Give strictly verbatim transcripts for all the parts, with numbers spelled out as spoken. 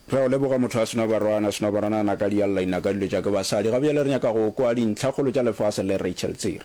Re a go leboga motho a sena barwana, sena barwana naka di a lla inaka dilo tša ke basadi. Ga bjale re nyaka go kwa dintlhakgolo tša lefase le Rachel Tsiri.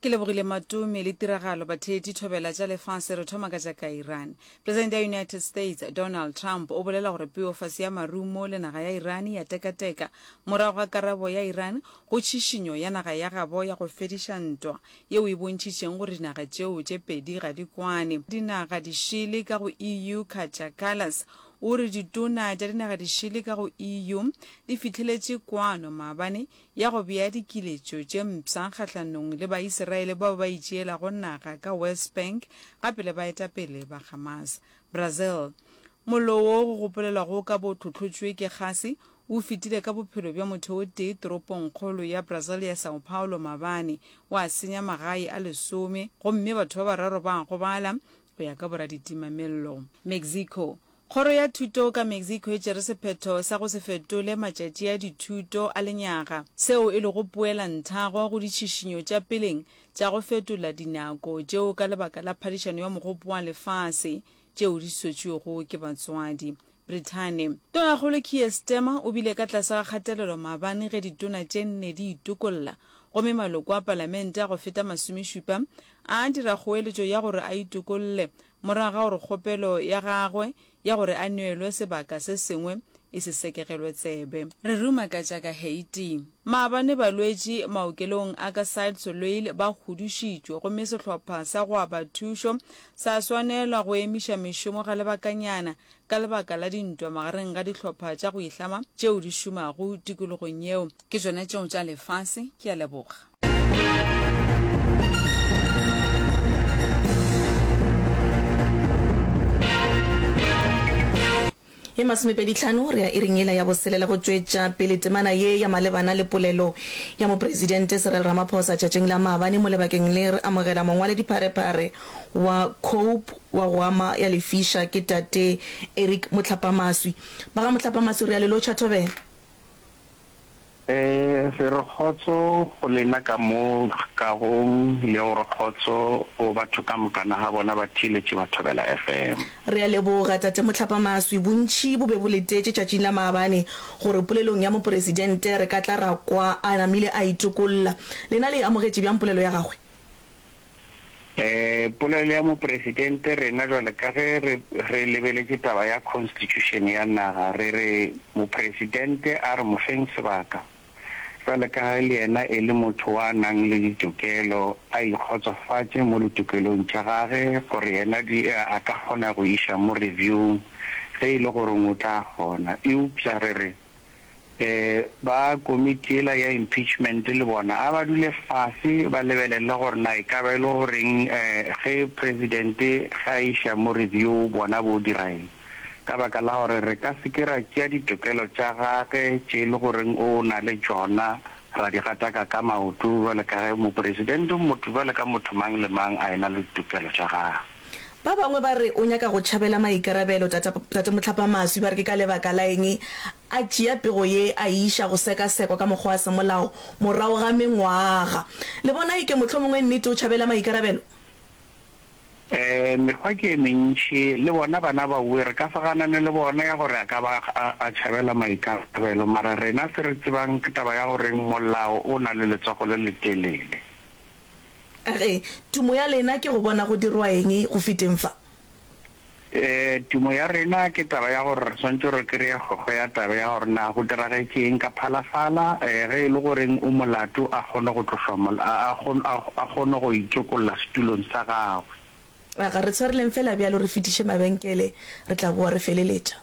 Ke lebogile Matome le tiragalo batheetši thobela tša lefase re thoma ka tša ka Iran. Presidente ya United States Donald Trump o bolela gore peofase ya marumo le naga ya Iran ya tekateka morago ga karabo ya Iran go tšhišinyo ya naga ya gabo ya go fediša ntwa yeo e bontšhitšeng gore dinaga tšeo tše pedi ga di kwane. Dinaga dišele ka go E U Katja Kallas o re ditona tša dinaga dišele ka go E U di fihleletše kwano maabane ya go bea dikiletšo tše mpsha kgahlanong le Baisiraele bao ba itšeelago naga ka West Bank gape le baetapele ba Hamas. Brazil, Mollo wo go gopolelwago o ka bo hlohlotšwe ke gase o fetile ka bophelo bja motho o tee toropongkgolo ya Brazil ya São Paulo maabane, wa senya magae a lesome gomme batho ba bararo ba gobala, go ya ka boraditima-mello. Mexico, Kgoro ya Thuto ka Mexico e tšere sephetho sa go se fetole matšatši a dithuto a lenyaga, seo e lego poelanthago go ditšhišinyo tša peleng tša go fetola dinako tšeo ka lebaka la phadišano ya Mogopo wa Lefase tšeo di swetšwego ke batswadi. Brithani. Tonakgolo Keir Starmer o bile ka tlase ga kgatelelo maabane ge ditona tše nne di itokolla gomme maloko a palamente a go feta masomešupa a dira kgoeletšo ya gore a itokolle morago ga gore kgopelo ya gagwe ya gore a neelwe sebaka se sengwe e se sekegelwe tsebe. Re ruma ka tša ka Haiti. Maabane balwetši maokelong a ka Cite Soleil ba hudušitšwe gomme sehlopha sa go aba thušo sa swanelwa go emiša mešomo ga lebakanyana ka lebaka la dintwa magareng ga dihlopha tša go ihlama tšeo di šomago tikologong yeo. Ke tšona tšeo tša lefase. Ke a leboga. Ye masomepedi hlano re ya iring yela ya boselela go tšwetša pele temana ye ya malebana le polelo ya Mopresidente Cyril Ramaphosa tšatšing la maabane. Mo lebakeng le re amogela mongwaledipharephare wa Cope wa go ama ya lefiša ke Tate Eric Mohlapamaswi. Ba ga Mohlapamaswi re a le lotšha thobela. Re re kgotso go lena ka mo kagong le go re kgotso go batho ka mokana ga bona ba theeletše ba Thobela F M. Re a leboga, Tate Mohlapamaswi. Bontši bo be bo letetše tšatšing la maabane gore polelong ya Mopresidente re ka tla ra kwa a namile a itokolla. Lena le e amogetše bjang polelo ya gagwe? Polelo ya Mopresidente, rena jwale ka ge re, re lebeletše taba ya Constitution ya naga, re re Mopresidente a re mo feng sebaka, jwale ka ge le yena e le motho wa nang le ditokelo, a ikgotsofatše mo ditokelong tša gage gore yena di, a ka kgona go iša mo review-ng ge e le goreng o tla kgona. Eupša re re Ba komiti yela ya impeachment le bona a ba dule fase ba lebelele gore na e ka ba e le goreng ge president ge a iša mo review bona bo dira eng. Ka baka la gore re ka se ke ra tšea ditokelo tša gage tše e le goreng o na le tšona ra di gataka ka maoto bjale ka ge mopresident motho bjale ka motho mang le mang a ena le ditokelo tša gagwe. Ba bangwe ba re o nyaka go tšhabela maikarabelo, Tate, Tate Mohlapamaswi ba re ke ka lebaka la eng a tšea pego ye a e iša go sekasekwa ka mokgwa wa semolao morago ga mengwaga. Le bona eke mohlomongwe nnete o tšhabela maikarabelo? Ee, mekgwa ke e mentši, le bona bana baowe re ka se ganane le bona ya gore a ka ba a, a tšhabela maikarabelo, mara rena se re tsebang ke taba ya goreng molao o na le letsogo le letelele. A re, Tumo ya lena ke go bona go dirwa eng go feteng fa? Ee, tumo ya rena ke taba ya gore re swanetše re kreye kgokgo ya taba ya gore na go diragetše eng ka Phalafala, ee, ge e le goreng o molato a kgone go tlošwa mol, a, a, a, a kgone go itokolla setulong sa gagwe. A ga re tshwareleng feela bjalo re fetiše mabenkele, re tla boa re feleletša.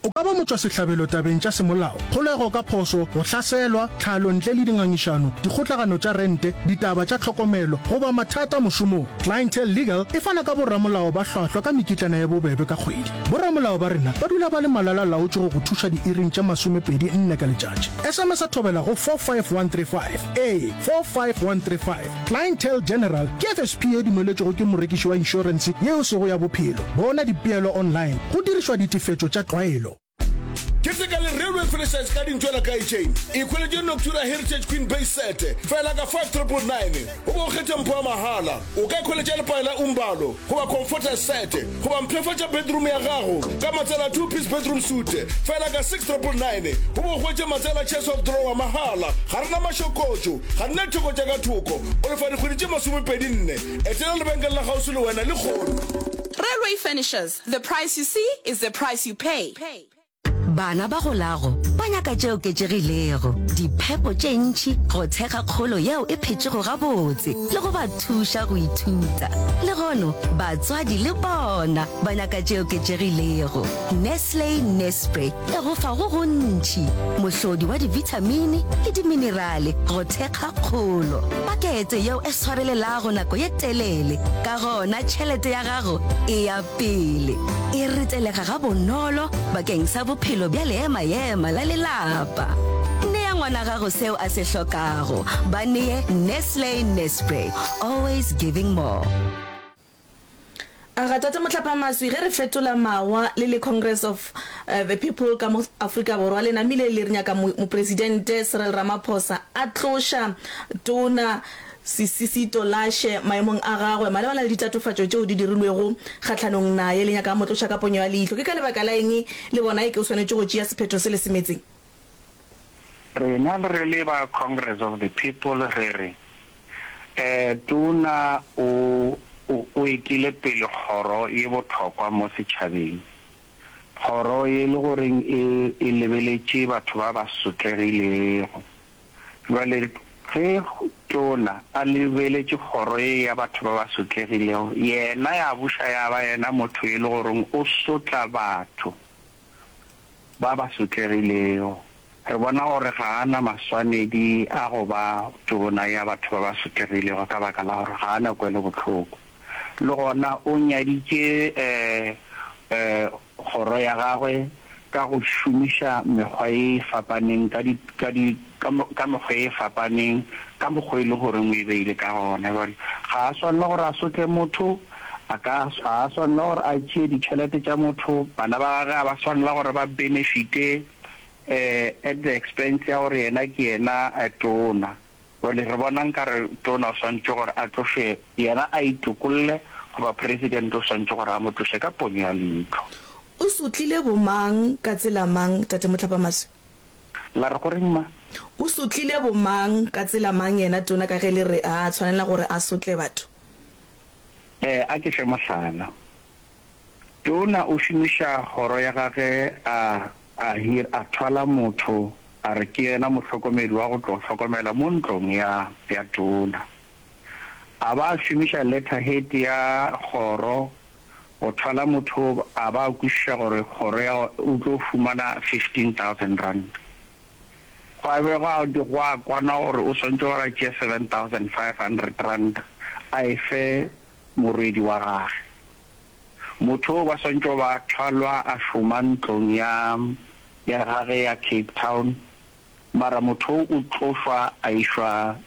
O ka ba motšwasehlabelo tabeng tša semolao, kgolego ka phošo, go hlaselwa, tlhalo ntle le dingangišano, dikgotlagano tša rente, ditaba tša tlhokomelo, goba mathata mošomong. Clientele Legal e fana ka boramolao ba hlwahlwa ka mekitlana ye bobebe ka kgwedi. Boramolao ba rena ba dula ba le malala-laotšwe go go thuša diiring tše masomepedi nne ka letšatši. S M S thobela go four five one three five ee, four five one three five. Clientele General ke F S P ye dumeletšwego ke morekiši wa inšorense ye e sego ya bophelo. Bona dipeelo online go dirišwa ditefetšo tša tlwaelo. Keteka le Railway Furnitures ka dintšwela ka chain. Ikhweletše Noctura Heritage Queen Base Set fela ka five triple nine goba o kgethe mpho ya mahala. O ka ikhweletša lepae la Umbalo goba Comforter Set goba mpshafatša bedroom ya gago ka matsela two piece bedroom suite fela ka six triple nine goba o hwetše matsela chest of drawer mahala. Ga re na mašokotšo, ga re na ditheko tša ka thoko. O lefa dikgwedi tše masomepedi nne. Etela lebenkele la kgauswi le wena lehono. Railway Furnitures, the price you see is the price you pay. Bana ba golago ba nyaka tše oketšegilego, diphepo tše ntši go thekga kgolo yeo e phetšego gabotse le go ba thuša go ithuta. Lehono, batswadi le bona ba nyaka tše oketšegilego. Nestle Nespre e go fa go gontši, mohlodi wa dibithamini le diminerale go thekga kgolo. Pakete yeo e swarelelago nako ye telele, ka gona tšhelete ya gago e ya pele. E retelega gabonolo bakeng sa bophelo bja leema-ema la lelapa. Nea ngwana gago seo a se hlokago. Ba nee Nestle Nespre, always giving more. Aga Tate Mohlaphamaswi, ge re fetola mawa le le Congress of the People ka mo Afrika Borwa le namile le re nyaka Mopresidente Cyril Ramaphosa a tloša Tona Sisisi Tolashe maemong a gagwe malebana le ditatofatšo tšeo di dirilwego kgahlanong naye, le nyaka a mo tloša ka ponyo ya leihlo. Ke ka lebaka la eng le bona eke o swanetše go tšea sephetho se le semetseng? Rena re le ba Congress of the People re re, Tona o o etile pele kgoro ye bohlokwa mo setšhabeng, kgoro ye le goreng e e lebeletše batho ba ba sotlegilego. Bjale ge Tona a lebeletše kgoro ye ya batho ba ba sotlegilego, yena ya buša ya ba yena motho e le goreng o sotla batho ba ba sotlegilego. Re bona gore ga a na maswanedi a go ba Tona ya batho ba ba sotlegilego ka baka la gore ga a na kwelobohloko. Le gona o nyaditše kgoro ya gagwe ka go šomiša mekgwa ye e fapaneng ka di, ka di, ka, ka mekgwa ye e fapaneng, ka mokgwa e le goreng o e beile ka gona. Bjale, ga a swanela gore a sotle motho, a ka, ga a swanela gore a tšee ditšhelete tša motho, bana ba gagwe ga ba swanela gore ba benefite at the expense ya gore yena ke yena tona. Bjale re bona nkare tona o swanetše gore a tlošwe, yena a itokolle, goba president o swanetše gore a mo tloše ka ponyo ya leihlo. O sotlile bomang ka tsela mang, Tate Mohlapamaswi? La re goreng ma? O sotlile bomang ka tsela mang yena tona ka ge le re ga a tshwanela gore a sotle batho? Eh, a ke fe mohlala. Tona o šomiša kgoro ya gage a, a hir, a thwala motho a re ke yena mohlokomedi wa go tlo hlokomela mo ntlong ya, ya tona. A ba a šomiša letterhead ya kgoro go thwala motho a ba a kwešiša gore kgoro ya o tlo fumana fifteen thousand rand. Gwa be gwa gwa kwanwa gore o swantše gore a tšee seven thousand five hundred rand a e fe morwedi wa gage. Motho o ba swantše go ba thwalwa a šoma ntlong ya ya gage ya Cape Town, mara motho o o tlošwa a išwa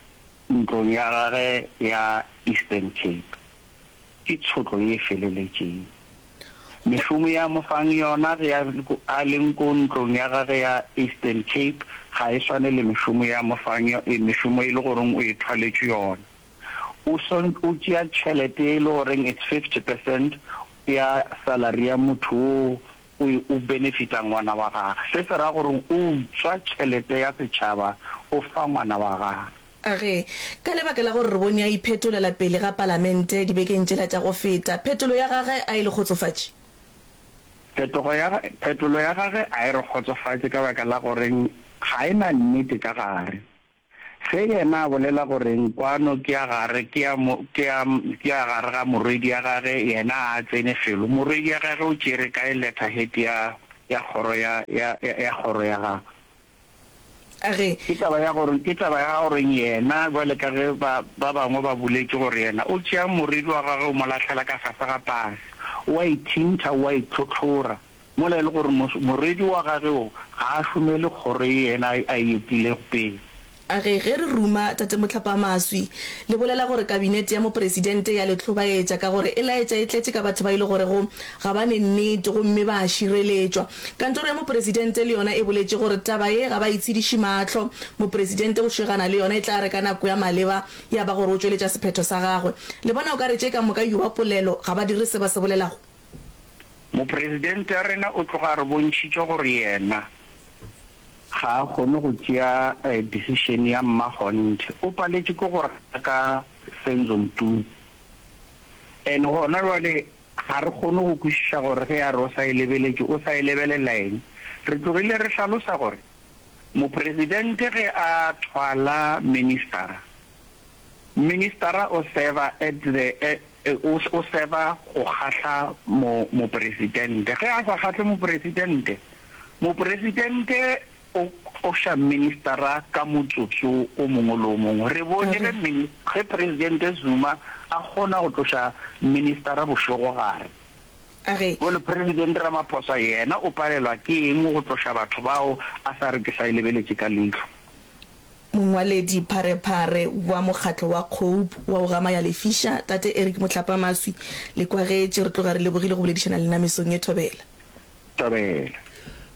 ntlong ya gage ya Eastern Cape. Ke tshotlo ye e feleletšeng. Mešomo ye a mo fang yona ge a a leng ko ntlong ya gage ya Eastern Cape ga e swane le mešomo ye a mo fang mešomo e le goreng o e thwaletšwe yona. O o tšea tšhelete e le goreng it's fifty percent ya salary ya motho wo o o benefita ngwana wa gage. Se se ra gore o utswa tšhelete ya setšhaba o fa ngwana wa gage. A re, Ka lebaka la gore re bone a iphetolela pele ga palamente dibekeng tšela tša go feta, phetolo ya gage a e le kgotsofatše? Phetogo ya, phetolo ya gage a e re kgotsofatše ka baka la gore ga e na nnete ka gare. Ge yena a bolela gore kwano ke ya gare, ke ya, ke ya, ke ya gare ga morwedi ya gage, yena ga a tsene felo. Morwedi ya gage o tšere kae letterhead ya, ya kgoro ya, ya, ya kgoro ya gagwe? A re. Ke taba ya gore, ke taba ya gore yena, bjale ka ge ba, ba bangwe ba boletše gore yena o tšea moriri wa gagwe o mo lahlela ka fase ga pase, o a ithintha, o a itlhohlora, mola e le gore mos, moriri wa gagwe wo ga a šomele kgoro ye yena a, a e etilego pele. A re, Ge re ruma, Tate Mohlapamaswi, le bolela gore Kabinete ya Mopresidente ya le hlobaetša ka gore e laetša e tletše ka batho ba e le gorego ga ba ne nnete gomme ba a šireletšwa. Kantoro ya Mopresidente le yona e boletše gore taba ye ga ba e tshediše mahlo. Mopresidente o šegana le yona e tla re ka nako ya maleba ya ba gore o tšweletša sephetho sa gagwe. Le bona o ka re tše ka moka yoba polelo ga ba dire se ba se bolelago? Mopresidente wa rena o tloga a re bontšhitše gore yena ga a kgone go tšea decision ya mmakgonthe. O paletše ke go raka Senzo Mtutu. And gona jwale ga re kgone go kwešiša gore ge a re o sa e lebeletše, o sa e lebelela eng. Re tlogile re hlalosa gore Mopresidente ge a thwala ministara, ministara o serva at the, o, o serva go kgahla mo, mopresidente. Ge a sa kgahle mopresidente, mopresidente o tloša ministara ka motsotso o mongwe le o mongwe. Re bone ge mini, ge Presidente Zuma a kgona go tloša ministara bošegogare. A re. Bjale President Ramaphosa yena o palelwa ke eng go tloša batho bao a sa re ke sa e lebeletše ka leihlo? Mongwaledi pharephare wa mokgatlo wa COPE wa go gama ya lefiša, Tate Eric Mohlapamaswi, le kwagetše. Re tloga re lebogile go boledišana le lena mesong ye. Thobela. Thobela.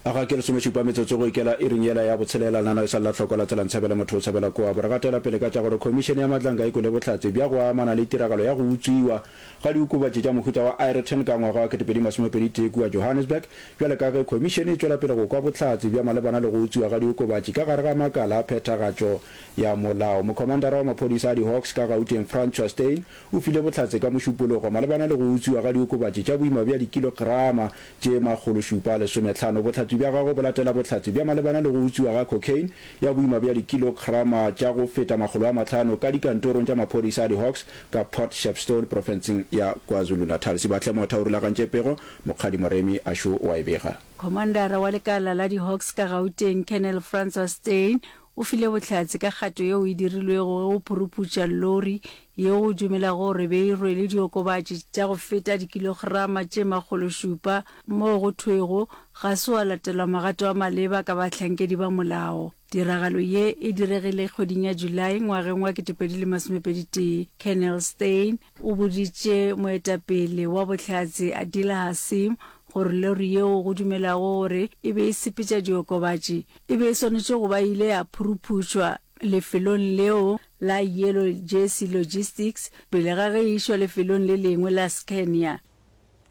A ga ke lesomešupa metsotso go ikela iring yela ya botshelela, lenaneo e sa le la hlokwa la tsela Ntshabele motho o tshabela koa. Bo re gatela pele ka tša gore Khomišene ya Matlanka e kwele bohlatse bja go amana le tiragalo ya go utswiwa ga diokobatši tša mohuta wa Aeroton ka ngwaga wa ketepedi masomepedi tee kua Johannesburg, bjale ka ge khomišene e tšwela pele go kwa bohlatse bja malebana le go utswiwa ga diokobatši ka gare ga makala a phethagatšo ya molao. Mokhomandara wa maphodisa a di-Hawks ka Gauteng Francois Steyn o file bohlatse ka Mošupologo malebana le go utswiwa ga diokobatši tša boima bja dikilograma tše makgolo šupa a lesometlhano. Bohlatse bja gagwe bo latela bohlatse bja malebana le go utswiwa ga cocaine ya boima bja dikilograma tša go feta makgolo a mahlano ka dikantorong tša maphodisa a di-Hawks ka Port Shepstone profenseng ya KwaZulu-Natal. Sibahle Motha o rulagantše pego, Mokgadi Moremi a šo o a e bega. Khomandara wa lekala la di-Hawks ka Gauteng, Colonel Francois Steyn, o file bohlatse ka kgato yeo e dirilwego ge go phuruphutša lori yeo go dumelago gore be e rwele diokobatši tša go feta dikilograma tše makgološupa moo go thwego ga se wa latelwa magato a maleba ka bahlankedi ba molao. Tiragalo ye e diregile kgweding ya July ngwageng wa ketepedi le masomepedi tee. Colonel Steyn o boditše moetapele wa bohlatse Adila Hassim gore lori yeo go dumelago gore e be e sepetša diokobatši e be e swanetše go ba e ile ya phuruphutšwa lefelong leo la Yellow Jersey Logistics pele ga ge e išwa lefelong le lengwe la Scania.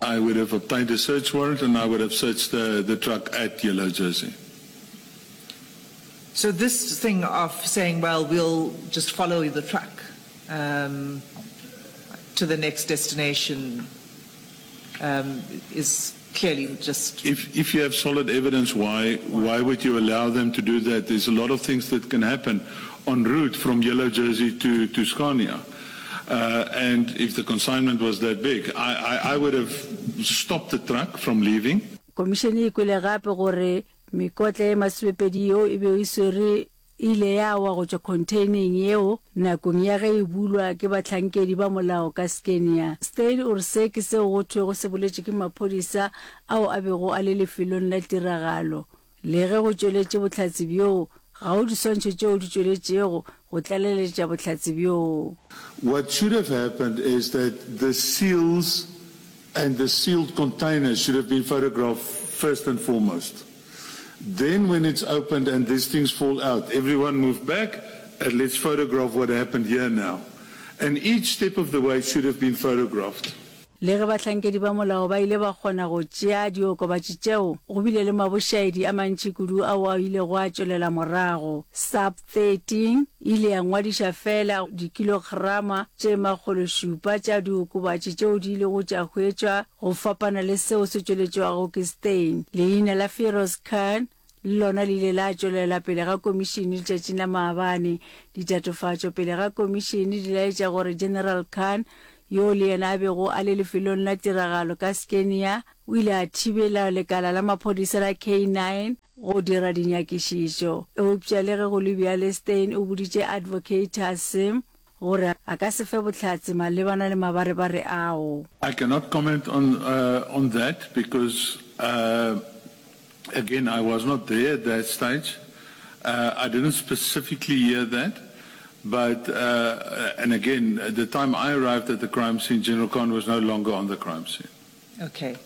I would have obtained a search warrant and I would have searched the, the truck at Yellow Jersey. So this thing of saying, well, we'll just follow the truck um, to the next destination um, is clearly just... If, if you have solid evidence, why, why would you allow them to do that? There's a lot of things that can happen en route from Yellow Jersey to, to Scania. Uh, and if the consignment was that big, I, I, I would have stopped the truck from leaving. Komišene e kwele gape gore mekotla ye masomepedi yeo e bego e swere e ile ya wa go tšwa khontheineng yeo nakong ya ge e bulwa ke bahlankedi ba molao ka Scania. Steyn o re se ke seo go thwego se boletšwe ke maphodisa ao a bego a le lefelong la tiragalo. Le ge go tšweletše bohlatse bjoo, ga go diswantšho tšeo di tšweletšego go tlaleletša bohlatse bjoo. What should have happened is that the seals and the sealed containers should have been photographed first and foremost. Then when it's opened and these things fall out, everyone move back and let's photograph what happened here now. And each step of the way should have been photographed. Le ge bahlankedi ba molao ba ile ba kgona go tšea diokobatši tšeo, go bile le mabošaedi a mantši kudu ao a ilego a tšwelela morago. Sub thirteen e ile ya ngwadiša feela dikilograma tše makgološupa tša diokobatši tšeo di ilego tša hwetšwa go fapana le seo se tšweletšwago ke Steyn. Leina la Feroz Khan le lona le ile la tšwelela pele ga komišene letšatšing la maabane. Ditatofatšo pele ga komišene di laetša gore General Khan, yoo le yena a bego a le lefelong la tiragalo ka Scania, o ile a thibela lekala la maphodisa la K nine go dira dinyakišišo. Eupša le ge go le bjale, Steyn o boditše Advocate Hassim gore a ka se fe bohlatse malebana le mabarebare ao. I cannot comment on on that because again I was not there at that stage. Uh, I didn't specifically hear that, but, uh, and again, at the time I arrived at the crime scene, General Khan was no longer on the crime scene. Okay.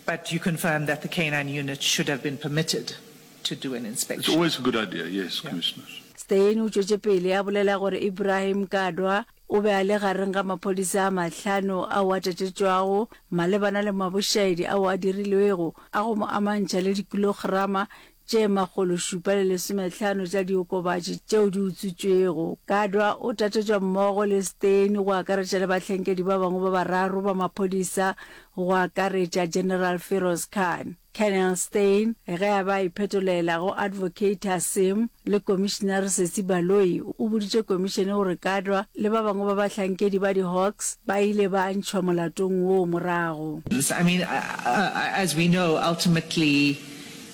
But you confirm that the canine unit should have been permitted to do an inspection? It's always a good idea, yes, yeah. Commissioners. Steyn o tšwetše pele a bolela gore Ibrahim Kadwa o be a le gareng ga maphodisa a mahlano ao a tatetšwago malebana le mabošaedi ao a dirilwego a go mo amantšha le dikilograma tše makgolo šupa le lesomehlano tša diokobatši tšeo di utswitšwego. Kadwa o tatetšwa mmogo le Steyn go akaretša le bahlankedi ba bangwe ba bararo ba maphodisa go akaretša General Firoz Khan. Colonel Steyn ge a be a iphetolela go Advocate Hassim le Komišinare Sesi Baloyi o boditše komišene gore Kadwa le ba bangwe ba bahlankedi ba di-Hawks ba ile ba ntšhwa molatong woo morago. I mean, as we know, ultimately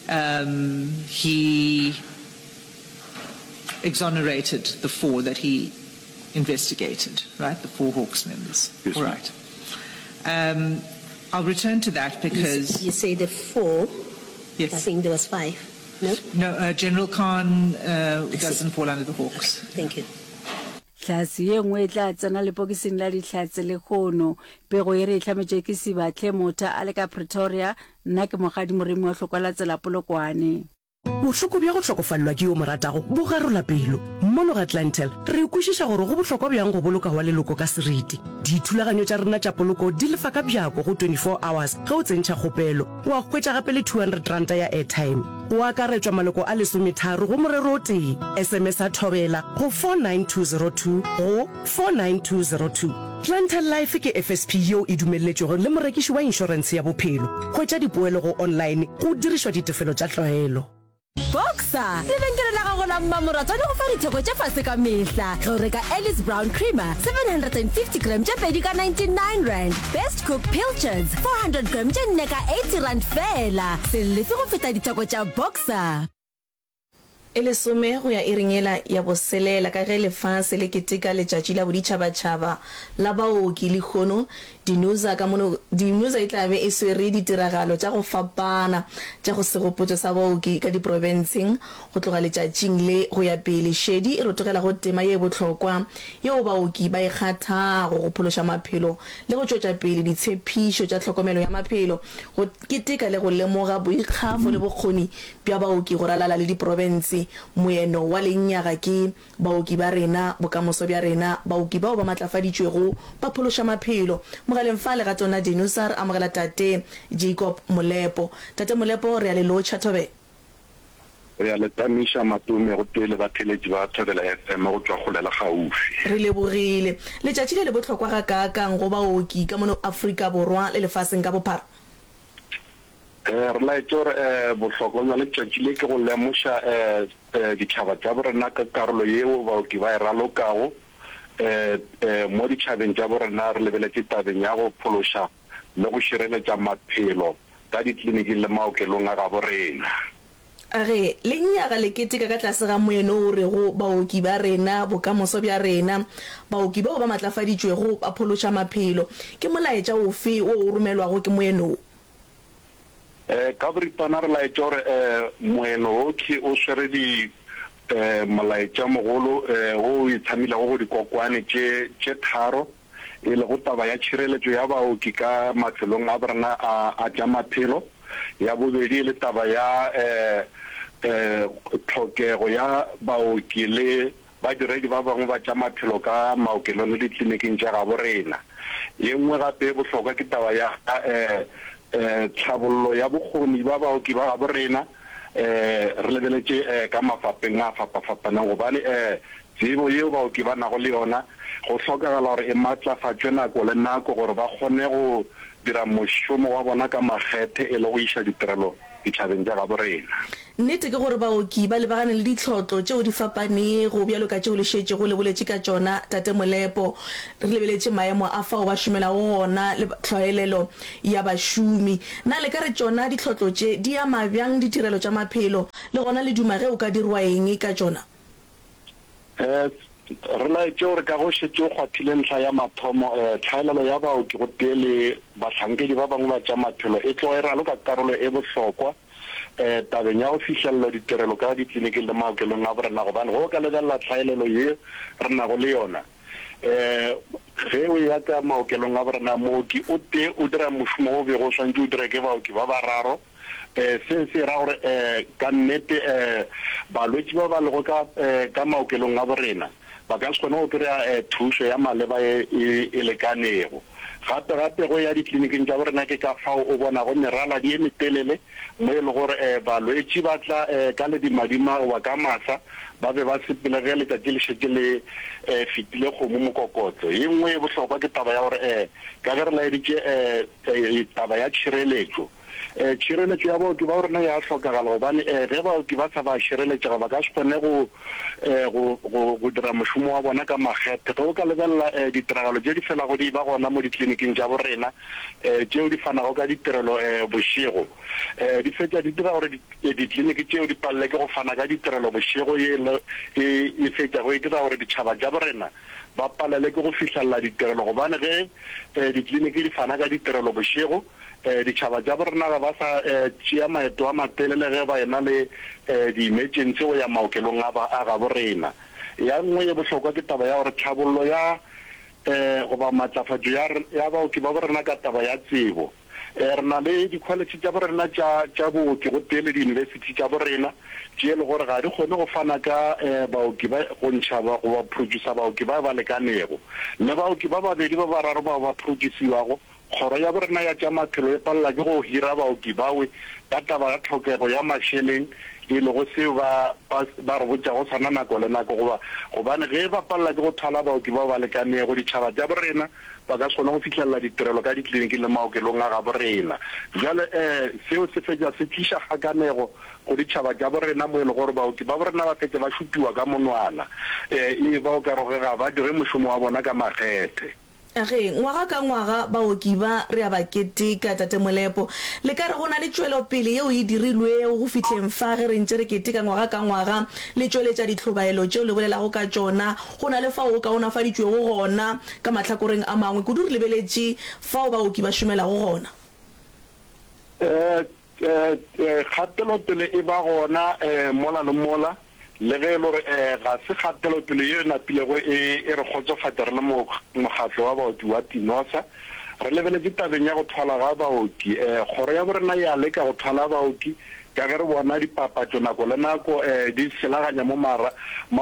Um, he exonerated the four that he investigated, right? The four Hawks members. Yes, All right. Um, I'll return to that because... You, you say the four? Yes. I think there was five. No? No, uh, General Khan uh, doesn't fall under the Hawks. Okay, thank you. Hlatse ye nngwe e tla tsena lepokising la dihlatse lehono. Pego ye re e hlametšwe ke Sibahle Motha a le ka Pretoria. Nna ke Mokgadi Moremi wa Hlokwa la Tsela Polokwane. Bohloko bja go hlokofalelwa ke yo mo ratago bo garola pelo. Mono ga Clientele, re kwešiša gore go bohlokwa bjang go boloka wa leloko ka seriti. Dithulaganyo tša rena tša poloko di lefa ka bjako go twenty four hours ge o tsentšha kgopelo. Wa hwetša gape le two hundred ranta ya airtime. Go akaretšwa maloko a lesometharo go morero o tee. S M S-a Thobela go four nine two zero two go four nine two zero two. Clientele Life ke F S P yeo e dumelletšwego le morekiši wa inšorentshe ya bophelo. Hwetša dipoelo go online go dirišwa ditefelo tša tlwaelo. Boxer, lebenkele la gago la mmamoratwa le go fa ditheko tša fase ka mehla ge o reka Alice Brown Creamer seven hundred and fifty gram tše pedi ka ninety nine rand, Best Cook Pilchards four hundred gram tše nne ka eighty rand feela. Se lefe go feta ditheko tša Boxer. E lesome go ya iring yela ya boselela ka ge lefase le keteka letšatši la boditšhabatšhaba la baoki lehono, Dinusa ka mono Dinusa e tla be e swere ditiragalo tša go fapana tša go segopotšo sa baoki ka diprofenseng go tloga letšatšing le go ya pele. Šedi e rotogela go tema ye bohlokwa yeo baoki ba e kgathago go phološa maphelo le go tšwetša pele ditshephišo tša tlhokomelo ya maphelo, go keteka le go lemoga boikgafo le bokgoni bja baoki go ralala le diprofense. Moeno wa lenyaga ke, Baoki ba rena, bokamoso bja rena, baoki bao ba matlafaditšwego ba phološa maphelo. Mogaleng fa legatong la Dinusa re amogela Tate Jacob Molepo. Tate Molepo, re a le lotšha, Thobela. Re a le tamiša, Matome, gotee le batheeletši ba Thobela F M go tšwa kgole le kgaufsi. Re lebogile. Letšatši le le bohlokwa gakaakang go baoki ka mono Afrika Borwa le lefaseng ka bophara? Re laetše gore bohlokwa bja letšatši le ke go lemoša ditšhaba tša borena ka karolo yeo baoki ba e ralokago mo ditšhabeng tša borena re lebeletše tabeng ya go phološa le go šireletša maphelo ka dikliniking le maokelong a gabo rena. A re, Lenyaga le keteka ka tlase ga moeno o rego Baoki ba rena, bokamoso bja rena. Baoki bao ba matlafaditšwego ba phološa maphelo. Ke molaetša ofe wo o romelwago ke moeno wo? Ka boripana re laetša gore moeno wo ke o swere di molaetša mogolo wo o itshamilego go dikokwane tše tše tharo, e lego taba ya tšhireletšo ya baoki ka mafelong a borena a a tša maphelo, ya bobedi e le taba ya tlhokego ya baoki le Badiredi ba bangwe ba tša maphelo ka maokelong le dikliniking tša gabo rena. Ye nngwe gape ye bohlokwa ke taba ya tlhabollo ya bokgoni bja baoki ba gabo rena re lebeletše ka mafapeng a fapafapaneng gobane tsebo yeo baoki ba nago le yona go hlokagala gore e matlafatšwe nako le nako gore ba kgone go dira mošomo wa bona ka makgethe e le go iša ditirelo ditšhabeng tša gabo rena. Nnete ke gore baoki ba lebagane le ditlhotlo tšeo di fapanego bjalo ka tšeo le šetšego le boletše ka tšona, Tate Molepo. Re lebeletše maemo a fao ba šomelago gona le tlwaelelo ya bašomi. Na le ka re tšona ditlhotlo tše di ama bjang ditirelo tša maphelo, le gona le duma ge o ka dirwa eng ka tšona? Re laetše gore ka go šetše o kgwathile ntlha ya mathomo, tlhaelelo ya baoki gotee le bahlankedi ba bangwe ba tša maphelo e tloga e raloka karolo e bohlokwa tabeng ya go fihlelela ditirelo ka ditleliniking le maokelong a borena, gobane ge o ka lebelela tlhaelelo ye re nago le yona, ge o eya ka maokelong a borena, mooki o tee o dira mošomo wo o bego o swanetše o dirwe ke baoki ba bararo. Se se ra gore ka nnete balwetši ba ba lego ka ka maokelong a borena ba ka se kgone go kry-a thušo ya maleba ye e lekanego. Gape gape go ya dikliniking tša borena ke ka fao o bonago meraladi ye metelele mo e le gore balwetši ba tla ka ledimadima goba ka masa ba be ba sepele ge letšatši le šetše le fetile kgomo mokokotlo. Ye nngwe ye bohlokwa ke taba ya gore ka ge re laeditše taba ya tšhireletšo, Tšhireletšo ya baoki ba rena ya hlokagala gobane ge baoki ba sa ba šireletšega ba ka se kgone go, go, go, go dira mošomo wa bona ka makgethe. Ge o ka lebelela ditiragalo tše di felago di eba gona mo dikliniking tša borena tšeo di fanago ka ditirelo bošego, di fetša di dira gore dikliniki tšeo di palele ke go fana ka ditirelo bošego, ye e, e fetšago e dira gore ditšhaba tša borena ba palele ke go fihlelela ditirelo gobane ge dikliniki di fana ka ditirelo bošego, Ditšhaba tša borena ga ba sa tšea maeto a matelele ge ba ena le di-emergency go ya maokelong a a gabo rena. Ya nngwe ye bohlokwa ke taba ya gore tlhabollo ya goba matlafatšo ya ya baoki ba borena ka taba ya tsebo. Re na le dikholetšhe tša borena tša tša booki gotee le diyunibesithi tša borena tše e le gore ga di kgone go fana ka baoki ba go ntšha goba producer baoki ba ba lekanego. Le baoki ba babedi ba bararo bao ba produciwago Kgoro ya borena ya tša maphelo e palela ke go hira baoki bawe ka taba ya tlhokego ya mašeleng e lego seo ba ba ba re botšago sona nako le nako goba gobane ge ba palela ke go thwala baoki bao ba lekanego ditšhaba tša borena ba ka se kgone go fihlelela ditirelo ka dikliniking le maokelong a gabo rena. Bjale seo se fetša se tliša kgakanego go ditšhaba tša borena mo e lego gore baoki ba borena ba fetša ba šupiwa ka monwana e ba o ka re ga ba dire mošomo wa bona ka makgethe. Ge, ngwaga ka ngwaga baoki ba re a ba keteka, Tate Molepo. Le ka re go na le tšwelopele yeo e dirilwego go fihleng fa ge re ntše re keteka ngwaga ka ngwaga, le tšweletša dihlobaelo tšeo le bolelago ka tšona, go na le fao go kaonafaditšwego gona ka mahlakoreng a mangwe, kudu re lebeletše fao baoki ba šomelago gona? Kgatelopele e ba gona mola le mola, le ge e le gore ga se kgatelopele ye e napilego e re kgotsofatša re le mokgatlo wa baoki wa Tinosa. Re lebeletše tabeng ya go thwala ga baoki. Kgoro ya borena e a leka go thwala baoki ka ge re bona dipapatšo nako le nako di selaganya mo mo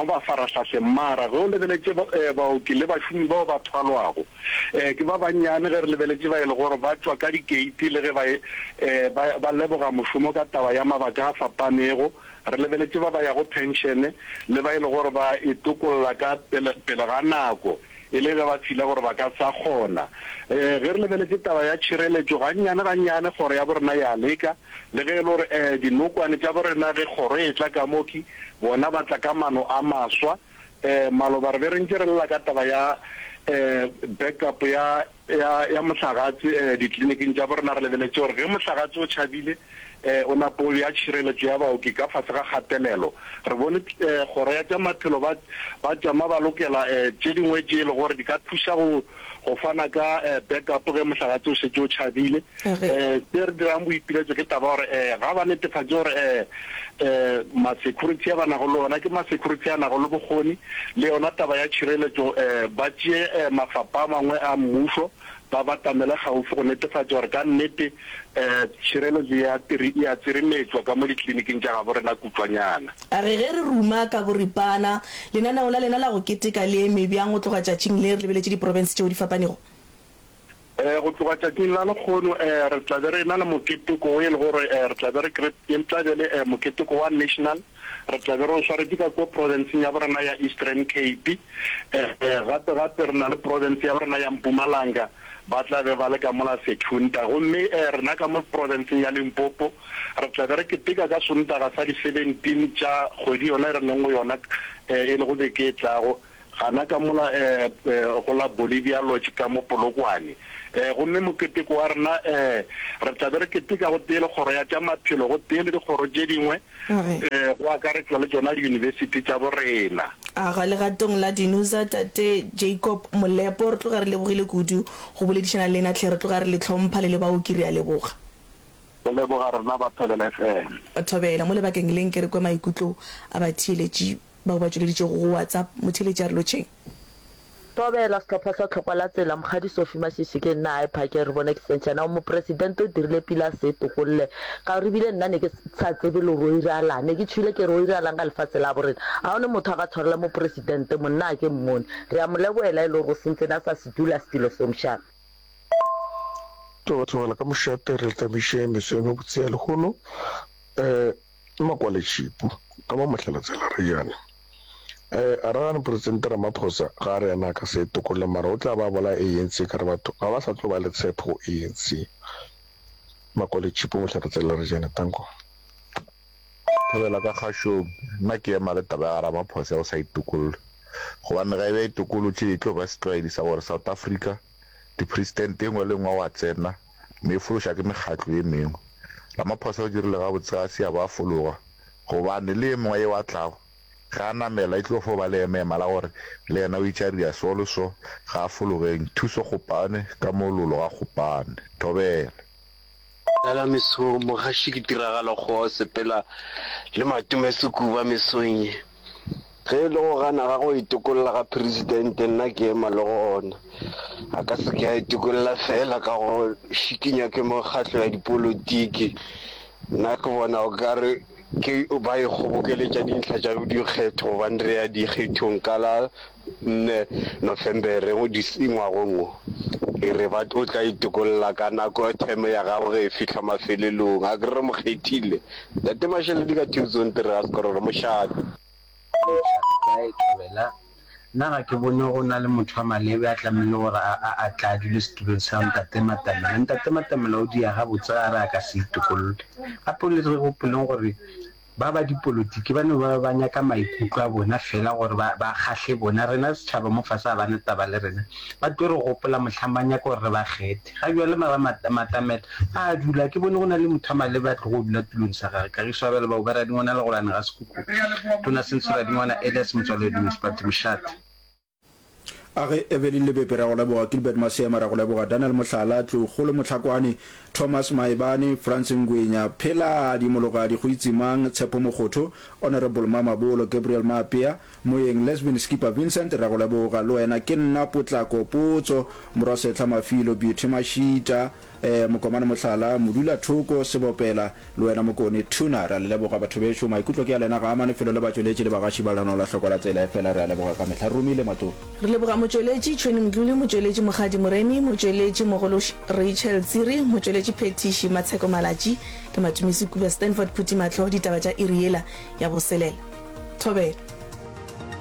mafarahlahleng. Mara ge o lebeletše baoki le bašomi bao ba thwalwago, Ke ba bannyane ge re lebeletše ba e le gore ba tšwa ka dikeiti le ge ba ba ba leboga mošomo ka taba ya mabaka a fapanego. Re lebeletše ba ba yago phenšene le ba e le gore ba itokolla ka pele pele ga nako e le ge ba fila gore ba ka sa kgona. Ge re lebeletše taba ya tšhireletšo, gannyane gannyane kgoro ya borena ya leka, le ge e le gore dinokwane tša borena ge kgoro e etla ka mo ki bona ba tla ka mano a maswa. Maloba re be re ntše re lla ka taba ya backup ya ya ya mohlagatse ditleliniking tša borena. Re lebeletše gore ge mohlagatse o tšhabile o nape o bea tšhireletšo ya baoki ka fase ga kgatelelo. Re bone kgoro ya tša maphelo ba ba tšama ba lokela tše dingwe tše e le gore di ka thuša go go fana ka backup ge mohlagatse o šetše o tšhabile. Se re dirang boipiletšo ke taba ya gore ga ba netefatše gore ma-security a ba nago le ona ke ma-security a nago le bokgoni, le yona taba ya tšhireletšo ba tšee mafapha a mangwe a mmušo ba batamele kgauswi go netefatša gore ka nnete tšhireletšo e a e a tsirimetšwa ka mo ditleliniking tša gabo rena kutšwanyana. A re ge re ruma ka boripana, lenaneo la lena la go keteka le eme bjang go tloga tšatšing le re lebeletše diprofense tšeo di fapanego? Go tloga tšatšing la lekgono re tla be re ena le moketeko wo e le gore re tla be re e tla be le moketeko wa national, re tla be re o swaretše ka ko profenseng ya borena ya Eastern Cape. Gape gape re na le profense ya borena ya Mpumalanga, ba tla be ba le ka mola Secunda. Gomme rena ka mo profenseng ya Limpopo re tla be re keteka ka Sontaga sa di seventeen tša kgwedi yona e re leng go yona e lego beke e tlago. Gana ka mola go la Bolivia Lodge ka mo Polokwane. Gomme moketeko wa rena, re tla be re keteka gotee le Kgoro ya tša Maphelo gotee le dikgoro tše dingwe, go akaretšwa le tšona diyunibesithi tša borena. Aga legatong la Dinusa, Tate Jacob Molepo, re tloga re lebogile kudu go boledišana le lena hle, re tloga re le hlompha le le baoki, re a leboga. Go leboga rena ba Thobela F M. Thobela, mo lebakeng le nke re kwe maikutlo a batheeletši bao ba tšweleditšego go WhatsApp. Motheeletši a re lotšheng. Thobela, Sehlopha sa Tlhokwa la Tsela, Mokgadi Sophie Mashishi ke nna a phake re bone extension ao mopresidente o dirile pila a se tokolle ka gore ebile nna ne ke sa tsebe le gore o iralang ne ke tšhwile ke re o iralang ka lefatshe la bo rena ga one motho a ka tshwarela mopresidente monna a ke mmone re a mo leboela e le gore o sentsene a sa se dula setilo seo mošate. Tloga tlogela ka mošate re tamiše meso e mebotse ya lehono um Makwale-tšhipu ka mo Mohlalatsela Rejane. Um a ra gane Presidente Ramaphosa ga a re yena a ka se e tokolle mara o tla ba a bolaya A N C ka re batho ga ba sa tlo ba le tshepo go A N C. Makwale-tšhipu Mohlalatsela Rejane Tanko. Thobela ka kgašong, nna ke ema le taba ya ga Ramaphosa ya go sa itokolle. Gobane ga e be a itokolotše e tlo ba setlwaedi sa gore South Africa dipresidente e nngwe le e nngwe wa tsena mme e fološa ke mekgatlo ye mengwe. Ramaphosa o dirile gabotse ga a se a ba a fologa gobane le ye mongwe yeo a tlago ge a namela e tlo fo ba leemaema la gore le yena o itše a ria so le so ga a fologeng. Thuso Kgopane ka mo lolo ga Kgopane. Thobela. Lala mesong, mogaši ke tiragalo kgowa o sepela le Matome Sekuba mesong ye. Ge e le go gana ga go itokolla ga Presidente nna ke ema le gona. A ka se ke a itokolla feela ka go šikinya ke mekgatlo ya dipolotiki. Nna ke bona o ka re ke ba ikgobokeletša dintlha tša dikgetho gobane re ya dikgethong ka la nne Nofembere ngwagong wo. E re ba o tla itokolla ka nako term ya gagwe ge e fihla mafelelong. A ke re re mo kgethile? Ntate Masheledi ka Tucson Tirega Sekororo mošate. Lotšha, le kae? Thobela, Nna ga ke bone go na le motho wa malebe a tlamehile gore a, a, a tla a dule setulong sa Ntate Matamela. Ntate Matamela o dia gabotse ga re a ka se itokolle. Gape le re gopoleng gore ba ba dipolotiki ba no ba ba nyaka maikutlo a bona fela gore ba, ba kgahle bona. Rena setšhaba mo fase ga ba na taba le rena. Ba tlo re gopola mohlang ba nyaka gore re ba kgethe. Ga bjale mara Matamela a a dula, ke bone go na le motho wa malebe a tlogo dula tulong sa gage. Kagiso a bjale ba Uba Radingwana Legolane ga Sekhukhu. Tona Senso Radingwana Elias Motswaledi Municipality Mošate. A ge Evelyn Lebepe ra go leboga, Gilbert Maseema ra go leboga, Daniel Mohlala, Tloukgolo Mohlakwane, Thomas Maebane, Frans Ngwenya, Pheladi Mologadi, Goitsemang, Tshepo Mokgotho, Honourable Mamabolo, Gabriel Maapea, Moeng Lesvin Skipper Vincent ra go leboga, le wena ke nna Potlako Potso, Morwa Sehla Mafilo, Beauty Mashita, Mokomane Mohlala, Modulathoko, Sebopela, le wena Mokone, Tuna, re a le leboga batho bešo, maikutlo ke a lena, ga a amane felo le batšweletši le bagaši ba lenaneo la Hloko la Tsela, efela re a leboga ka mehla. Re romile Matome. Re leboga motšweletši Tšhweni Mdluli, motšweletši Mokgadi Moremi, motšweletši mogolo Rachel Tsiri, motšweletši phethiši Matsheko Malatji, ke Matome Sekuba, Stanford Phuti Mahlo, ditaba tša iri yela ya boselela. Thobela.